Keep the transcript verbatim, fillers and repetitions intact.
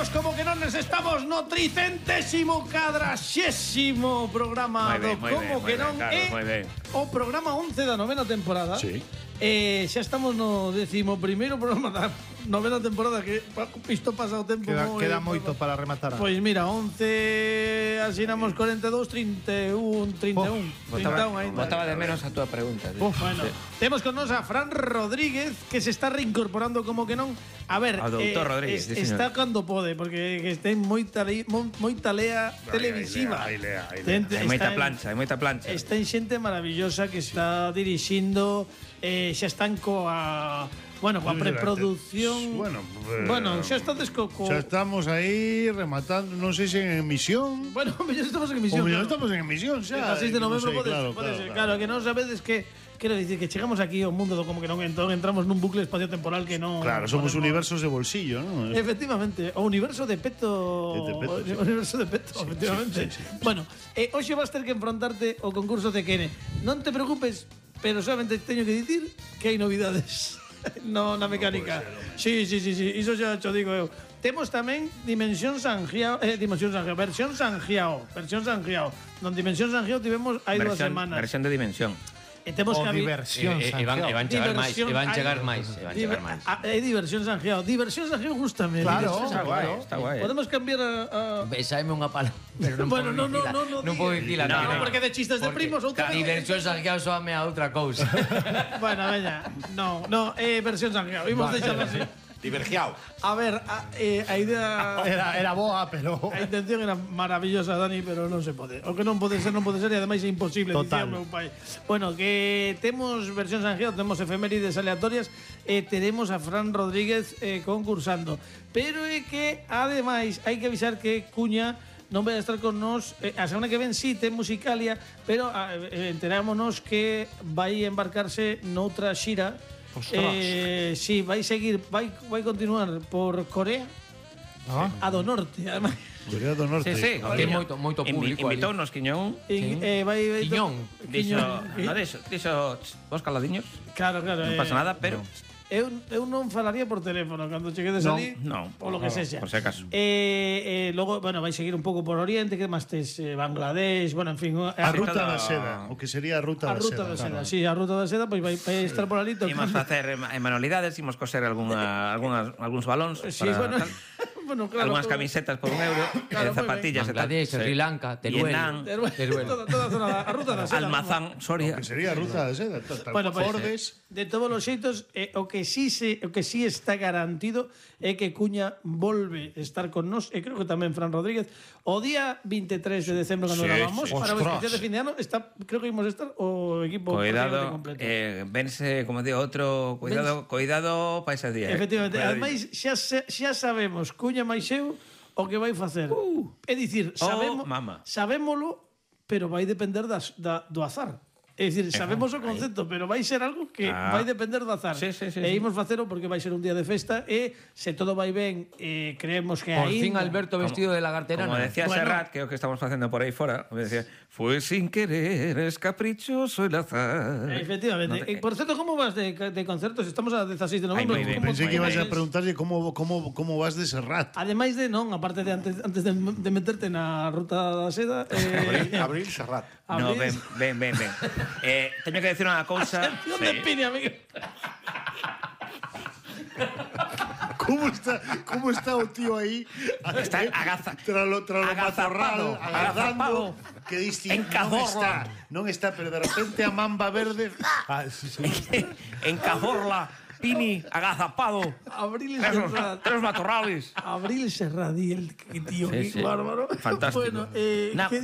Benvidos como que non les estamos no tricentésimo cadraxésimo programa Moi ben, do moi Como ben, que moi non ben, Carlos, moi é ben. o programa once da novena temporada. Sí. Eh, xa estamos no décimo primeiro programa da novena temporada, que pa- isto pasa o tempo Queda, moi- queda moito para rematar. Pois mira, once asinamos cuarenta e dous, trinta e un, trinta e un, trinta e un aínda. Botaba de menos a túa pregunta. tío. Bueno, temos con nos a Fran Rodríguez, que se está reincorporando como que non. A ver, Ao doutor Rodríguez, sí, está señor. cando pode, porque que ten moita, lei- mo- moita lea televisiva. Aí lea, aí lea. Ten- Hai moita está en- plancha, hai moita plancha. Está en xente maravillosa que está dirixindo, eh, xa están coa, bueno, coa preproducción. Bueno, eh, bueno, xa estades co, co Xa estamos aí rematando, non sei se en emisión. Bueno, xa estamos en O emisión. mellor claro. estamos en emisión xa. El seis de non novembro sei, pode, claro, pode claro, ser. claro. Claro, que non sabedes que quero dicir que chegamos aquí ao mundo do como que non entón entramos nun bucle espacio-temporal que non. Claro, somos podemos- universos de bolsillo, ¿no? Efectivamente, o universo de Peto. De Peto, o sí. universo de Peto, efectivamente. sí, sí, sí. Bueno, eh, hoxe vas ter que enfrontarte ao concurso de Kene. Non te preocupes, pero solamente teño que dicir que hai novidades. No, na mecánica. Sí, sí, sí, sí, iso xa cho digo eu. Temos tamén Dimensión Sanjiao, eh, Dimensión Sanjiao, versión Sanjiao, versión Sanjiao. Non Dimensión Sanjiao tivemos hai dúas Versión, semanas. versión de dimensión. E temos O que habi- diversión, E, e, e van, e van chegar máis, e van chegar máis, e van chegar máis. Ah, é diversión Sanjiao. Diversión Sanjiao gústame. Claro, Diversión Está Sanjiao. guai, está guai. Podemos cambiar a, a... Besaime unha palabra, pero non Bueno, no, podo no, dicila. no, no non podo digas. dicila. No, tío, no, porque de chistes de primos outra vez. Diversión Sanjiao soame a outra cousa. Bueno, veña. No, no, eh, versión Sanjiao. Imos deixarlo así. Divergiao. A ver, a, eh, a idea... Era, era boa, pero... A intención era maravillosa, Dani, pero non se pode. O que non pode ser, non pode ser, e ademais é imposible, dicía Total. o meu pai. Bueno, que temos versión Sanjiao, temos efemérides aleatorias, e teremos a Fran Rodríguez eh, concursando. Pero é que, ademais, hai que avisar que Cuña non vai a estar con nós eh, a semana que ven sí, ten Musicalia, pero eh, enterámonos que vai embarcarse noutra xira. Eh, sí, vai seguir, vai, vai continuar por Corea, Ah. a do norte, además. Corea do Norte. Sí, sí. Hai moito- moito público ali. Invitounos Quiñón. En, eh, vai, vai, Quiñón. Dixo, Quiñón. no, dixo, dixo, vos caladiños, Claro, claro. non eh, pasa nada, pero Eu, eu non falaría por teléfono cando cheguedes non, ali. non, O lo que sexa. por si acaso. Eh, eh, logo, bueno, vai seguir un pouco por Oriente, que máis tes eh, Bangladesh, bueno, en fin. A A, ruta todo- da seda, o que sería a ruta a da ruta seda. da seda, claro. sí, a ruta da seda, pois vai, vai estar por ali Imos tocando. facer em- en manualidades, imos coser algunha, algunhas, algúns balóns Sí, para bueno, tal, bueno, claro. algunhas todo- camisetas por un euro, Claro, eh, moi zapatillas e tal. Bangladesh, Sí. Sri Lanka, Teruel. Vietnam, Teruel, Teruel. toda, toda a zona da a ruta da seda. Almazán, Soria. Que sería a ruta da seda. Tal, tal, Bueno, pues, Fordes. de todos os xeitos, eh, o que sí se, o que sí está garantido é que Cuña volve estar con nós, e creo que tamén Fran Rodríguez, o día veintitrés de decembro cando Sí, gravamos, sí. para o Ostras. especial de fin de ano, está, creo que imos estar o equipo Cuidado, prácticamente completo. eh, vense, como digo, outro, cuidado, cuidado para ese día. eh. Efectivamente, Cuidadinho. ademais xa, se- xa sabemos Cuña máis eu o que vai facer. Uh, é dicir, sabemos, mama. sabémolo, pero vai depender das, da, do azar. É dicir, sabemos o concepto, pero vai ser algo que Ah. vai depender do azar. Sí, sí, sí, e sí. imos facelo porque vai ser un día de festa e se todo vai ben, eh, creemos que Por aí fin Alberto vestido de lagarterana. Como decía Bueno. Serrat, que é o que estamos facendo por aí fora, me decía, fue sin querer, es caprichoso el azar. Efectivamente. No te- E, por certo, como vas de, de concertos? Estamos a dezasseis de novembro. Ai, moi ben. Como- Pensei que Moi ibas a ben. preguntarlle como, como, como vas de Serrat. Ademais de, non, aparte de antes, antes de, de meterte na ruta da seda, eh, Abril Serrat. No, abrís- ven, ven, ven, ven. eh, teño que decir unha cousa. Atención de Pini, amigo. ¿Cómo está, cómo está o tío ahí? Está agaza- Tralo, tralo agazapado, matorral, agazando. agazapado. Que diste, En non Cazorla. está, non está, pero de repente a mamba verde. Ah, sí, sí. En Cazorla, Pini, agazapado. Abril Tres, Serrat. tres matorrales. Abril Serradí, el que tío, Sí, qué sí. bárbaro. Fantástico. Bueno, eh, Na- ¿qué